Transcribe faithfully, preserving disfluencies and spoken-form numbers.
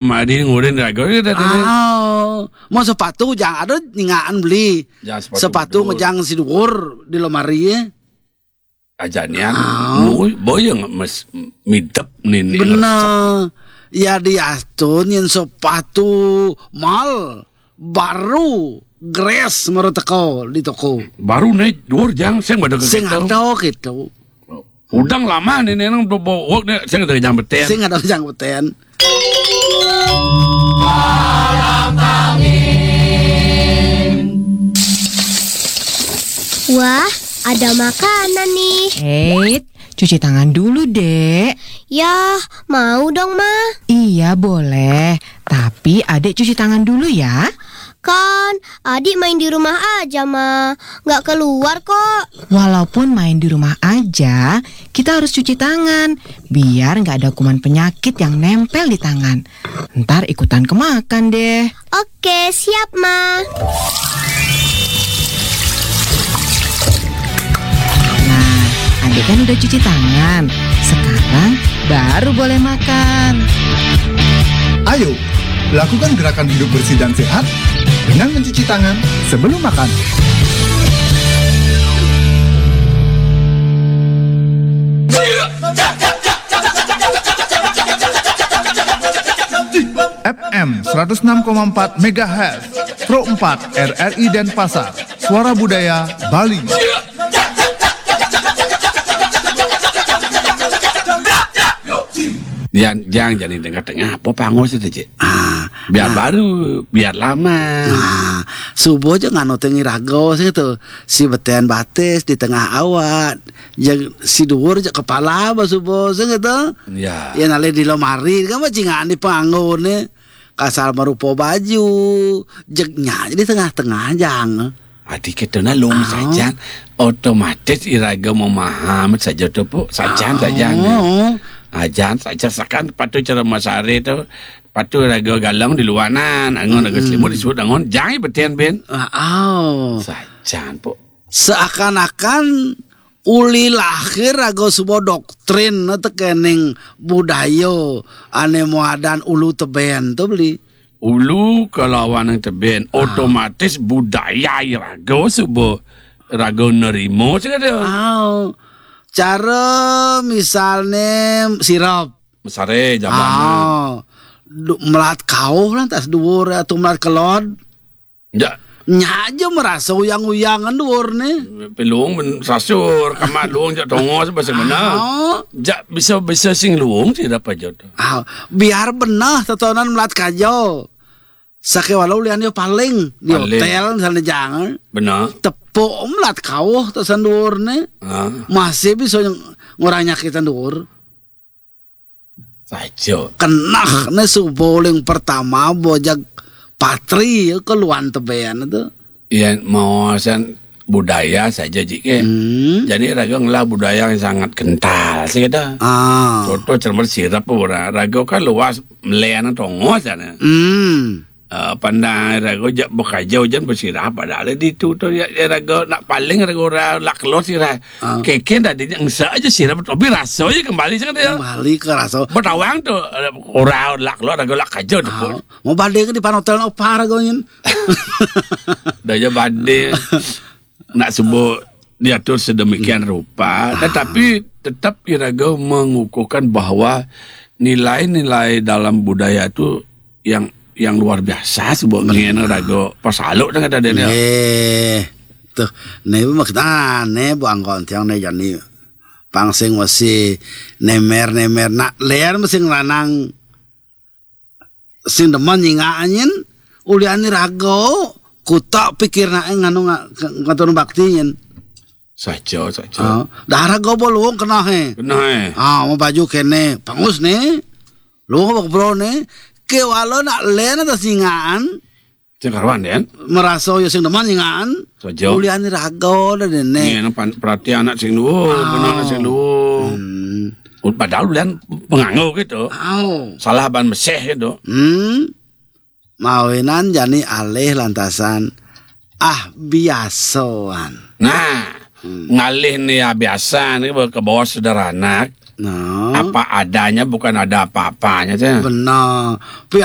Mari ngurin raga, ya, dah, dah. Ah, mau sepatu jang ada ningaan beli. Jang sepatu sepatu dulu. Ngejang si duur di lemari, ya. Ajanian, ah. Boya nggak mes midep nih, nih. Benar. Ya, diastun yang sepatu mal baru gres mara teko di toko. Baru nih, duur jang, sing pada sing gitu. Ada gitu. Udang lama nih, nih, nang bawa nih, sing ada jang beten. Sing ada jang beten. Wah, ada makanan nih. Eh, cuci tangan dulu, Dek. Ya, mau dong, Ma. Iya, boleh. Tapi Adek cuci tangan dulu ya. Kan, Adik main di rumah aja, Ma. Nggak keluar kok. Walaupun main di rumah aja, kita harus cuci tangan. Biar nggak ada kuman penyakit yang nempel di tangan. Ntar ikutan kemakan deh. Oke, siap, Ma. Nah, Adek kan udah cuci tangan. Sekarang baru boleh makan. Ayo, lakukan gerakan hidup bersih dan sehat dengan mencuci tangan sebelum makan. F M seratus enam koma empat megahertz, Pro empat R R I Denpasar, Suara Budaya Bali. Jang, jang, jani tengah-tengah, apa pangus itu, Cik? Ah, biar nah. Baru, biar lama. Nah, subuh aja nganu tengi rago sih tuh. Si beten batis di tengah awak. Yang si duur aja kepala apa subuh sih gitu. Ya. Ya nalih di lemari kan bajingan di panggung nih. Kasar marupa baju, jegnya aja di tengah-tengah jang. Adi kita nalung sajan, otomatis iraga memaham saja tu, Puk. Sajan saja. Oh. Ajan saja sakan patu cara masare tu, patu raga galang di luanan, angon raga selimut disebut angon, jang beten ben. Ah, oh. Sajan, Puk. Seakan-akan uli lahir raga suba doktrin tekening budaya ane muadan ulu teben tu beli. Ulu kalawan teben, ah. Otomatis budaya raga suba raga nerima sing ada. Ah. Cara misalne sirap. Mesare jaman. Ah. Du-, melat kauh lah tas duur atau melat kelod. Ya. Nya aja merasa uyang-uyangan duur nih. Pelung men sasur, kamar luung jak tongos bahasa mana. Ah. Jak bisa-bisa sing luung sih dapat jodoh. Ah, biar benah tetonan melat kajo. Sake walau lian yo paling di paling. Hotel misalnya jangan. Benar. Tepuk melat kauh tesan duur nih. Ah. Masih bisa ng-, ngurang nyakitan duur. Saja. Kenah ne suba uling pertama bojag patri ya keluan teben tu. Ya, mawasan budaya saja, Cik, eh. Hmm. Jadi, raga ngelah budaya yang sangat kental, sih, kata. Ah. Contoh, cermat sirap, ora. Raga kan luas, melian tongos, sana. Hmm. Eh, pandang raga jak bekaja ujan bersirap, padahal di tu, tu, ya, ya, raga nak paling raga ora lak keluar sirap. Ah. Keken tadi engsa aja sirap, tapi rasa aja kembali, sih, kata, ya. Kembali ke rasa. Betawang tu, eh, ora lak keluar, raga lak kaja tu, ah. Pun. Mau balik ke di panotel opar kau nyin. Dah je balik. Nak sebut diatur sedemikian rupa, tetapi tetap iraga mengukuhkan bahwa nilai-nilai dalam budaya tu yang, yang luar biasa sebut ngin raga pasaluk dengan ada dia. Nggih. Tuh, ne maksudane buang kontiang ne jani pangsing wesi nemer-nemer nak ler mesti nglanang sing demen nyingak anyin, ulian ni raga, kutak pikir nae nganu nga-, ke-, ngatur bakti nyin. Saja, saja. Ah, dah raga apa luung kena he. Kena he. Ah, mau baju kene, pangus ne. Luung apa kebro ne. Ke wala nak len atas nyingaan. Sing karuan, Den. Merasa ya sing demen nyingaan. Saja. Ulian ni raga dah dene. Ni, nang pan-, perhatian anak sing luung, oh. Benar anak sing luung. Hmm. Padahal ulian penganggo gitu. Au. Salah ban meseh gitu. Hmm. Mawinan jani alih lantasan, ah, biasaan. Nah, hmm. Ngalih ni, ah, biasa ni ke bawah sederhana. Nah. Apa adanya bukan ada apa-apanya, teh. Benar. Tapi